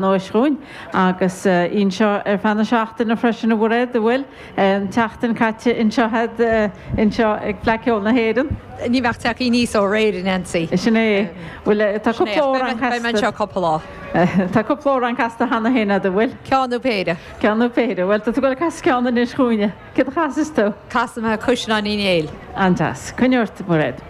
Beannóis chugainn agus í anseo ar feadh na seachtaine freisin, a Mhairéad, an bhfuil? An tseachtain caite anseo agat anseo ag Fleadh Cheoil na hÉireann. Ní bheadh tagtha aníos ó aréir, a Nancy. Sin é. Bhfuil, tá cúpla amhrán casta. Beidh mé anseo cúpla lá. Tá cúpla amhrán casta cheana féin agat, an bhfuil? Ceann nó péire. Ceann nó péire. Bhuel, tá tú ag dul ag casadh ceann anois chugainne. Céard a chasfas tú? Casfaidh mé Caisleán Uí Néill. An-deas. Coinnigh ort, a Mhairéad.